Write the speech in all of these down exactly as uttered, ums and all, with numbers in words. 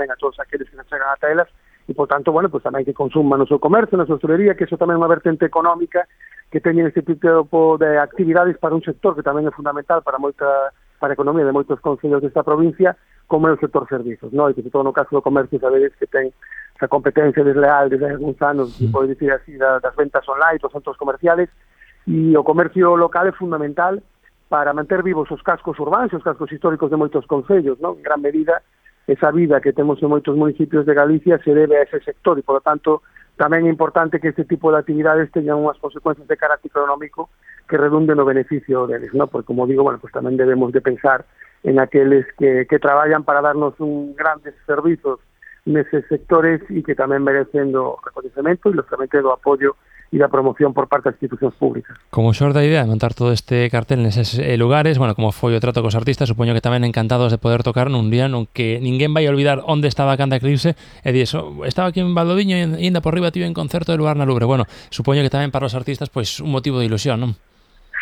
tamén a todos aqueles que se chegan ata elas, e, por tanto, bueno, pues tamén que consuman no seu comercio, na súa hostelería, que iso tamén é unha vertente económica que teñen este tipo de actividades para un sector que tamén é fundamental para moita para a economía de moitos concellos desta provincia, como é o sector servizos, non? E que, todo no caso do comercio, sabedes que ten esa competencia desleal desde algúns anos, se pode dicir así, das ventas online, dos centros comerciales, e o comercio local é fundamental para manter vivos os cascos urbanos, os cascos históricos de moitos concellos, non? En gran medida, esa vida que temos en moitos municipios de Galicia se debe a ese sector e, por lo tanto, tamén é importante que este tipo de actividades teñan unhas consecuencias de carácter económico que redunden no beneficio deles, non? Porque, como digo, bueno, pues tamén debemos de pensar en aqueles que, que traballan para darnos un grandes servizos neses sectores e que tamén merecen do reconhecemento e, lógicamente, do apoio e da promoción por parte das institucións públicas. Como xorde a idea de montar todo este cartel neses eh, lugares, bueno, como foi o trato cos artistas, supoño que tamén encantados de poder tocar nun día nun que ninguén vai a olvidar onde estaba a Canta Eclipse e di eso, estaba aquí en Valdoviño e ainda por riba tive en concerto de Luarna Lubre. Bueno, supoño que tamén para os artistas pois un motivo de ilusión, non?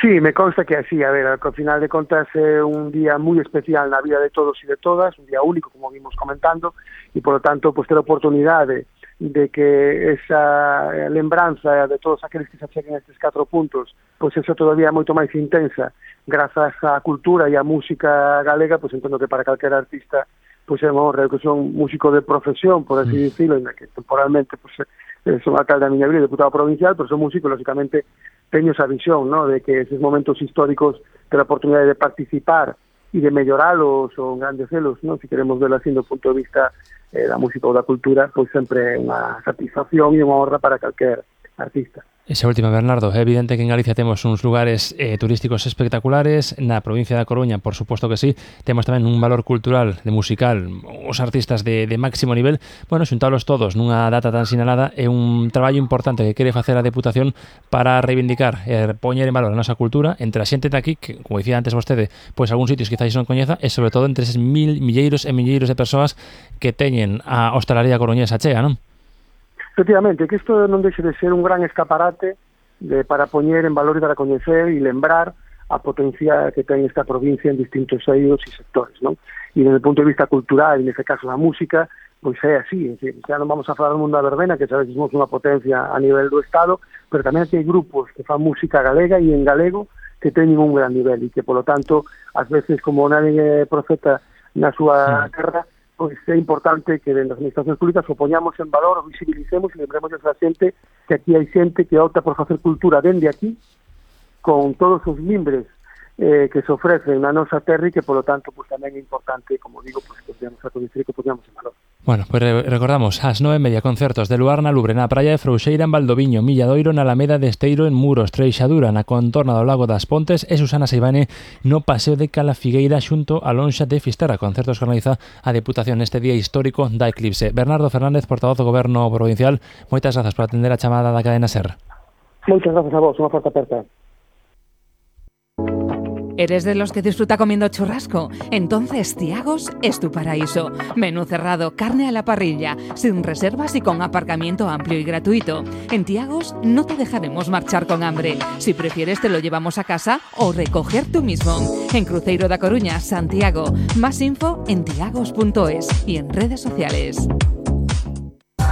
Sí, me consta que así, a ver, ao final de contas é un día moi especial na vida de todos e de todas, un día único, como vimos comentando, e, por lo tanto, pues, ter a oportunidade de que esa lembranza de todos aqueles que se acheguen a estes catro puntos, pois eso todavía é moito máis intensa, grazas á cultura e á música galega, pois entendo que para calquera artista pois é unha honra, que son músico de profesión, por así mm. decirlo, en que temporalmente pois, son alcalde da miña vida, diputado provincial, pero son músico, lógicamente, teño esa visión, ¿no?, de que esos momentos históricos ter a oportunidade de participar e de melloralos ou engrandecerlos, ¿no?, se queremos verlo así do punto de vista eh, da música ou da cultura, pois sempre é unha satisfacción e unha honra para calquer artista. Esa última, Bernardo, é evidente que en Galicia temos uns lugares eh, turísticos espectaculares, na provincia da Coruña, por suposto que sí, temos tamén un valor cultural, de musical, os artistas de, de máximo nivel, bueno, xuntalos todos nunha data tan sinalada é un traballo importante que quere facer a Deputación para reivindicar e eh, poñer en valor a nosa cultura entre a xente de aquí, que, como dicía antes vostede, pois algúns sitios quizáis non coñeza, e sobre todo entre eses mil, milleiros e milleiros de persoas que teñen a hostalaría coruñesa chea, non? Efectivamente, que isto non deixe de ser un gran escaparate de, para poñer en valor e dar a coñecer e lembrar a potencia que ten esta provincia en distintos eidos e sectores, non? E desde o punto de vista cultural, e neste caso da música, pois é así, en fin, xa non vamos a falar do mundo da verbena, que sabes que somos unha potencia a nivel do Estado, pero tamén hai grupos que fan música galega e en galego que teñen un gran nivel e que, polo tanto, ás veces, como nadie é profeta na súa terra, pois é importante que dentro das administracións públicas o poñamos en valor, o visibilicemos e lembremos a esa xente que aquí hai xente que opta por facer cultura dende aquí, con todos os mimbres eh, que se ofrecen na nosa terra e que, polo tanto, pois tamén é importante, como digo, pois que podemos recoñecer e que poñamos en valor. Bueno, pues recordamos, ás nove e media concertos de Luarna Lubre na praia de Frouxeira en Valdoviño, Milladoiro na Alameda de Esteiro en Muros, Treixadura na contorna do Lago das Pontes e Susana Seivane no Paseo de Calafigueira xunto a Lonxa de Fisterra, concertos que organiza a Deputación neste día histórico da Eclipse. Bernardo Fernández, portavoz do Goberno Provincial, moitas grazas por atender a chamada da cadena SER. Moitas grazas a vos, unha forte aperta. ¿Eres de los que disfruta comiendo churrasco? Entonces Tiagos es tu paraíso. Menú cerrado, carne a la parrilla, sin reservas y con aparcamiento amplio y gratuito. En Tiagos no te dejaremos marchar con hambre. Si prefieres te lo llevamos a casa o recoger tú mismo. En Cruzeiro da Coruña, Santiago. Más info en tiagos punto es y en redes sociales.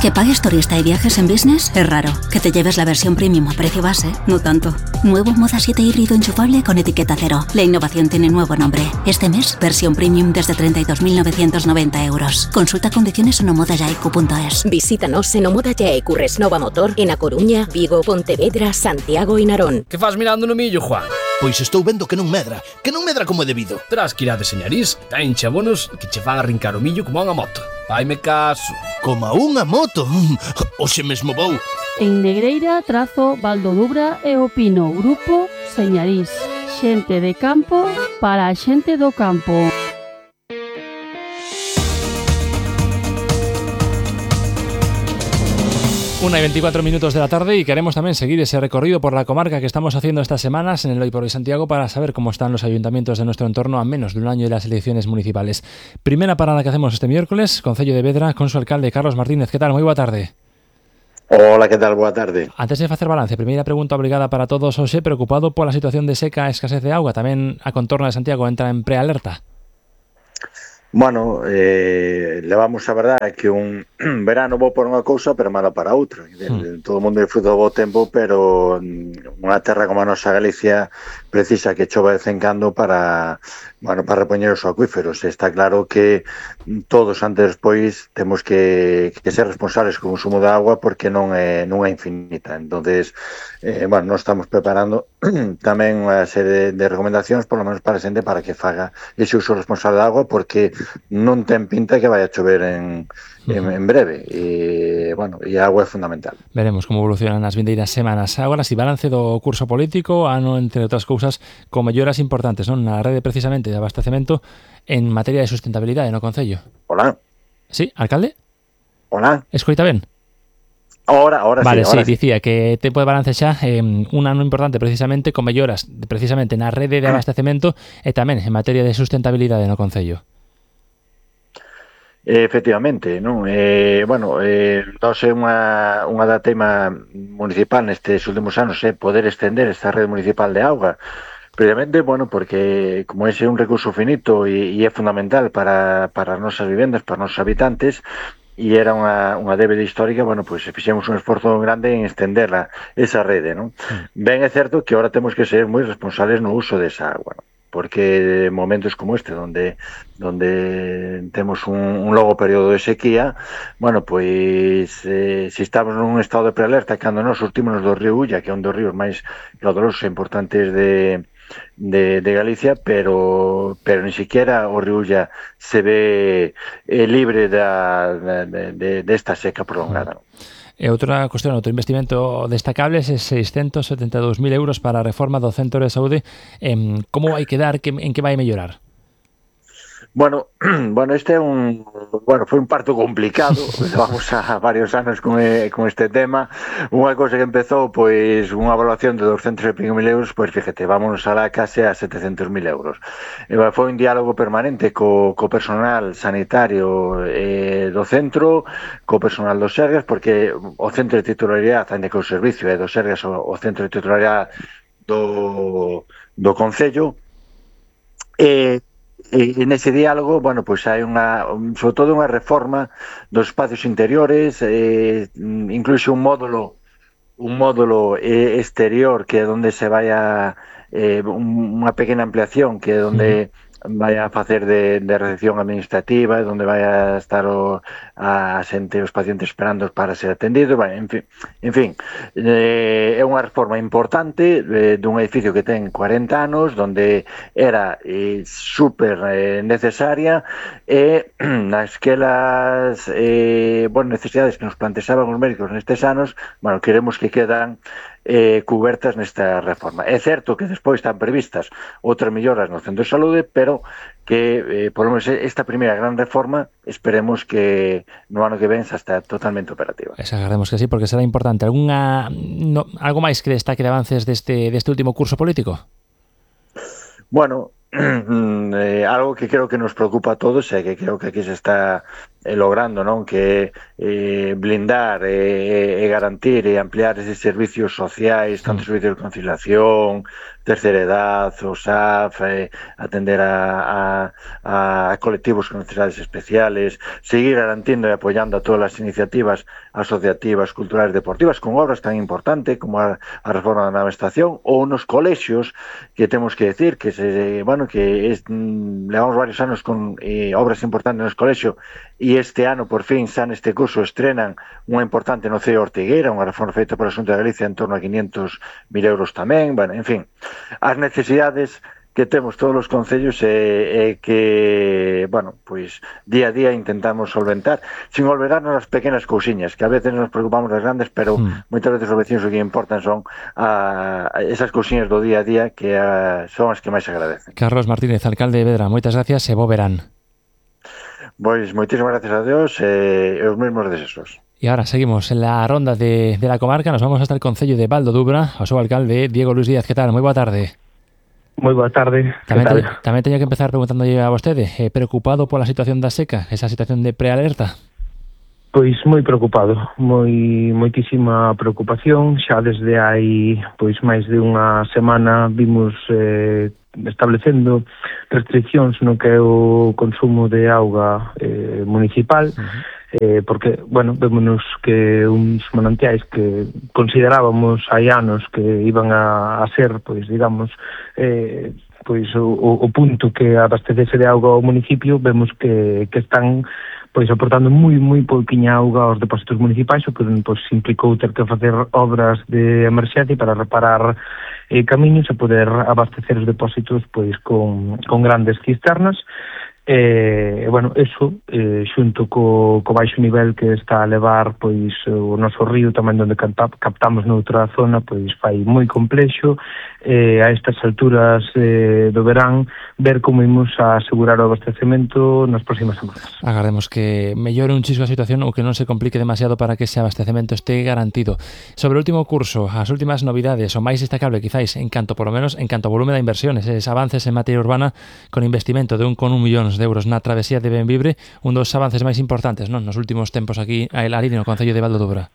¿Que pagues turista y viajes en business? Es raro. Que te lleves la versión premium a precio base, no tanto. Nuevo Moda siete híbrido enchufable con etiqueta cero. La innovación tiene nuevo nombre. Este mes, versión premium desde treinta y dos mil novecientos noventa euros. Consulta condiciones en omodayaicu punto es. Visítanos en Omodayaicu Resnova Motor en A Coruña, Vigo, Pontevedra, Santiago e Narón. Que faz mirando no millo, Juan? Pois estou vendo que non medra, que non medra como é debido. Terás que ir a deseñariz, ten chabonos que che van a arrincar o millo como a unha moto. Vaime caso. Como a unha moto? Oxe mesmo vou. En Negreira, Trazo, Valdodubra e o Pino, Grupo Señariz. Xente de campo para a xente do campo. Una y veinticuatro minutos de la tarde y queremos también seguir ese recorrido por la comarca que estamos haciendo estas semanas en el Hoy por Hoy Santiago para saber cómo están los ayuntamientos de nuestro entorno a menos de un año de las elecciones municipales. Primera parada que hacemos este miércoles, Concello de Vedra, con su alcalde Carlos Martínez. ¿Qué tal? Muy boa tarde. Hola, ¿qué tal? Boa tarde. Antes de facer balance, primeira pregunta obligada para todos, José, preocupado pola situación de seca e escasez de auga, tamén a contorna de Santiago entra en prealerta. Bueno, eh, levamos a verdade que un verano bo para unha cousa, pero malo para outra. Mm. Todo o mundo disfruta do bo tempo, pero unha terra como a nosa Galicia precisa que chova de vez en cando para, bueno, para repoñer os acuíferos. Está claro que todos antes despois temos que, que ser responsables co consumo de agua porque non é, non é infinita. Entonces, eh, bueno, nós estamos preparando tamén unha serie de, de recomendacións, por lo menos para a xente, para que faga ese uso responsable de agua, porque non ten pinta que vai a chover en, en, en breve e, bueno, e a agua é fundamental. Veremos como evolucionan as vindeiras semanas. Agora, si balance do curso político, ano, entre outras cousas, con melloras importantes, non? Na rede precisamente de abastecemento en materia de sustentabilidade no Concello. Hola. Sí, alcalde? Hola. Escoita ben? Ahora, ahora vale, sí, ahora sí, dicía que tempo de balance xa eh, un ano importante precisamente con melloras precisamente na rede de abastecemento e tamén en materia de sustentabilidade no Concello. Efectivamente, non? Eh, bueno, eh, nós é unha, unha da tema municipal nestes últimos anos é eh, poder estender esta rede municipal de auga. Precisamente, bueno, porque como ese é un recurso finito e, e é fundamental para, para as nosas vivendas, para os nosos habitantes, e era unha, unha débeda histórica, bueno, pois pues, fixemos un esforzo grande en estenderla, esa rede, non? Mm. Ben é certo que ahora temos que ser moi responsables no uso desa agua, non? Porque momentos como este, donde donde temos un, un longo período de sequía, bueno, pois eh, se estamos nun estado de prealerta cando nos surtimos do río Ulla, que é un dos ríos máis caudalosos e importantes de De, de Galicia, pero pero ni siquiera o río Ulla se ve eh, libre da, de, de, de esta seca prolongada. E outra cuestión, outro investimento destacable é seiscentos setenta e dous mil euros para a reforma do Centro de Saúde. Eh, como vai quedar? Que, en que vai mellorar? Bueno, bueno, este é un, bueno, foi un parto complicado, vamos a varios anos con, eh, con este tema. Unha cousa que empezou, pois, unha evaluación de doscientos e pico mil euros, pois, fíjate, vámonos a la case a setecentos mil euros. E, foi un diálogo permanente co, co personal sanitario eh, do centro, co personal dos Sergas, porque o centro de titularidade, ainda que o servicio é dos Sergas, o, o centro de titularidade do, do Concello, e E nese diálogo, bueno, pois hai unha, sobre todo unha reforma dos espacios interiores, eh, incluso un módulo un módulo eh, exterior que é onde se vai a eh, unha pequena ampliación que é onde vai a facer de, de recepción administrativa, onde vai a estar o, a xente, os pacientes esperando para ser atendidos, bueno, en fin, en fin eh, é unha reforma importante eh, dun edificio que ten cuarenta anos, onde era eh, super eh, necesaria e nasquelas eh, bueno, necesidades que nos planteaban os médicos nestes anos, bueno, queremos que quedan eh, cubertas nesta reforma. É certo que despois están previstas outras melloras no centro de saúde, pero que, eh, por lo menos, esta primeira gran reforma esperemos que no ano que ven xa está totalmente operativa. Esa, agardemos que sí, porque será importante. Alguna, no, algo máis que destaque de avances deste, deste último curso político? Bueno, eh, algo que creo que nos preocupa a todos e que creo que aquí se está eh, logrando, non? Que eh, blindar e eh, eh, garantir e ampliar eses servicios sociais, tanto servicios de conciliación, terceira edad, o S A F, eh, atender a, a, a colectivos con necesidades especiales, seguir garantindo e apoyando a todas as iniciativas asociativas, culturales, deportivas, con obras tan importantes como a, a reforma da nova estación, ou nos colexios, que temos que decir que se, bueno, que es, mm, levamos varios anos con eh, obras importantes nos colexios e este ano, por fin, xa neste curso estrenan unha importante no C E O Ortigueira, unha reforma feita por a Xunta de Galicia en torno a quinientos mil euros tamén, bueno, en fin, as necesidades que temos todos os concellos e, e que, bueno, pois día a día intentamos solventar, sin olvidarnos as pequenas cousiñas, que a veces nos preocupamos das grandes, pero mm. moitas veces os vecinos o que importan son a, a esas cousiñas do día a día que a, son as que máis agradecen. Carlos Martínez, alcalde de Vedra, moitas gracias e bo verán. Pois moitísimas gracias a Dios e os mesmos deseos. Y ahora seguimos en la ronda de, de la comarca, nos vamos hasta el concello de Val do Dubra, ao seu alcalde Diego Luis Díaz. Que tal? Moi boa tarde. Moi boa tarde. Tamén, te, tamén teño que empezar preguntándolle a vostede, eh, preocupado pola situación da seca, esa situación de prealerta? Pois moi preocupado, moi moitísima preocupación, xa desde hai pois máis de unha semana vimos eh, establecendo restriccións no que é o consumo de auga eh, municipal, uh-huh. eh, porque, bueno, vémonos que uns manantiais que considerábamos hai anos que iban a, a ser, pois, digamos, eh, pois o, o punto que abastecese de auga ao municipio, vemos que, que están pois aportando moi, moi pouquiña auga aos depósitos municipais, o que pois, implicou ter que facer obras de emerxencia para reparar eh, camiños e poder abastecer os depósitos pois con, con grandes cisternas. E, eh, bueno, eso, eh, xunto co, co baixo nivel que está a levar pois o noso río tamén onde captamos noutra zona, pois fai moi complexo eh, a estas alturas eh, do verán ver como imos a asegurar o abastecemento nas próximas semanas. Agardemos que mellore un chisco a situación ou que non se complique demasiado para que ese abastecemento este garantido. Sobre o último curso, as últimas novidades, o máis destacable quizáis en canto, por lo menos, en canto ao volume de inversiones, eses avances en materia urbana con investimento de un con un millóns de euros na travesía de Benvibre, un dos avances máis importantes, non, nos últimos tempos aquí a Elari no Concello de Val do Dubra.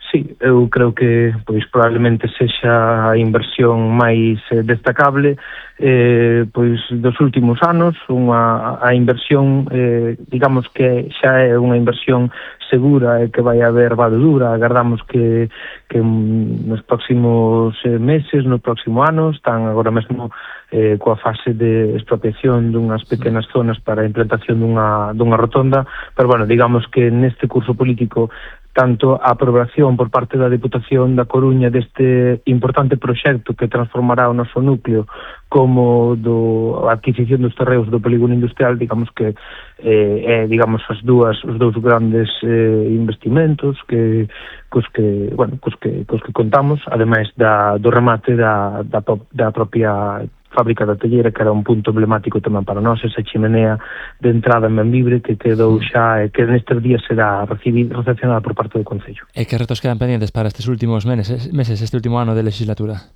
Sí, eu creo que pois probablemente sexa a inversión máis eh, destacable eh, pois dos últimos anos, unha a inversión eh, digamos que xa é unha inversión segura e que vai haber Val do Dubra. Agardamos que, que nos próximos eh, meses, no próximo ano, están agora mesmo eh, coa fase de expropiación dunhas pequenas zonas para a implantación dunha, dunha rotonda, pero bueno, digamos que neste curso político tanto a aprobación por parte da Deputación da Coruña deste importante proxecto que transformará o noso núcleo como do a adquisición dos terreos do polígono industrial, digamos que eh, é digamos as dúas os dous grandes eh, investimentos que cos que, bueno, cos que cos que contamos, ademais da do remate da da, da propia fábrica da Tellera, que era un punto emblemático tamén para nós, esa chimenea de entrada en Benvibre que quedou xa e que nestes días será recibida, recepcionada por parte do Concello. E que retos quedan pendientes para estes últimos meses, meses este último ano de legislatura?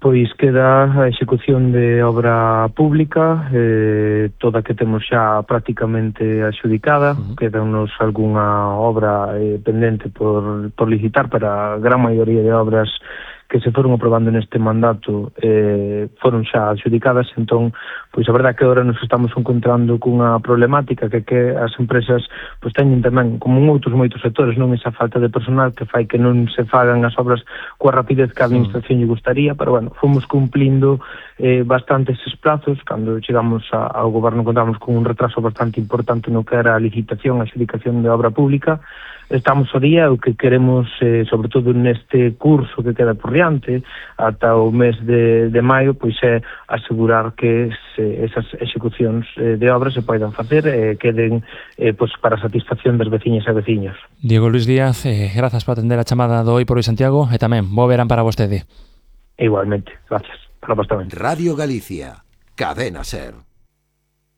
Pois queda a execución de obra pública, eh, toda que temos xa prácticamente adxudicada, uh-huh. quedanos algunha obra eh, pendente por, por licitar, para a gran maioría de obras que se foron aprobando neste mandato eh, foron xa adxudicadas. Entón, pois a verdade que agora nos estamos encontrando cunha problemática que que as empresas pois teñen tamén, como en outros moitos sectores, non esa falta de personal que fai que non se fagan as obras coa rapidez que a administración lle gustaría, pero bueno, fomos cumplindo eh, bastante eses plazos. Cando chegamos a, ao goberno contamos con un retraso bastante importante no que era a licitación, a adxudicación de obra pública. Estamos ao día, o que queremos, eh, sobre todo neste curso que queda por diante, ata o mes de, de maio, pois é asegurar que se, esas execucións eh, de obras se poidan facer e eh, queden eh, pois para a satisfacción das veciñas e veciños. Diego Luis Díaz, eh, grazas por atender a chamada do Hoy por Hoy Santiago e tamén bo verán para vostede. Igualmente, gracias. Para vos tamén. Radio Galicia, Cadena Ser.